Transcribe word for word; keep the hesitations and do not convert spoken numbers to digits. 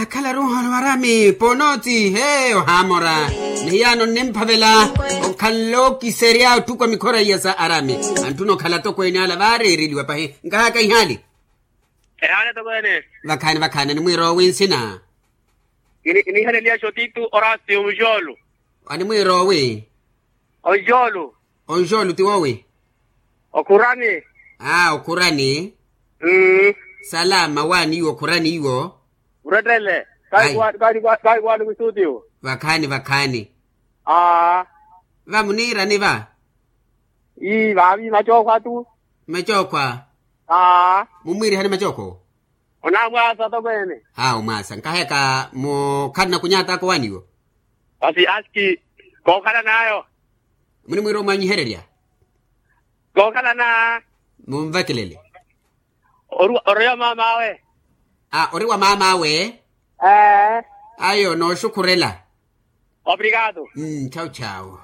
Akhala ruuhano arami ponooti he ohaamora. Ni hiyaano nnimphavela okhanle okiserya ottukwa mikhora iya sa arami. Antthuna okhala atokweene ala vaareereliwa pahi. Nkahaka ihaali. Ehaali atokweene. Vakhaani vakhaani animwiira owi nsina? Kiniihaleliya xotito orasio muxoolu. Animwiira owi? Onxoolu. Onxoolu ti wowi? Okhurani. Aa okhurani. Salama waani iwo okhurani iwo. Urettele. Kahi kuwaani mwisutiyo. Vakhaani vakhaani. Aa. Va muniirani va? Ii vaavi macookhwa tu. Macookhwa. Aa. Mumwiirihani macookhwa owo? Onaamwaasa tokweene. Aa omwaasa nkaheka mukhalana kunyataka owaani iwo. Basi aski kookhalana ayo. Munimwiira omwanyihererya. Kookhalana. Munvakilele. Ori wa maam'awe. A ori wa maam'awe. Ayo nooxukhurela. Obrigado. Chawu chawu.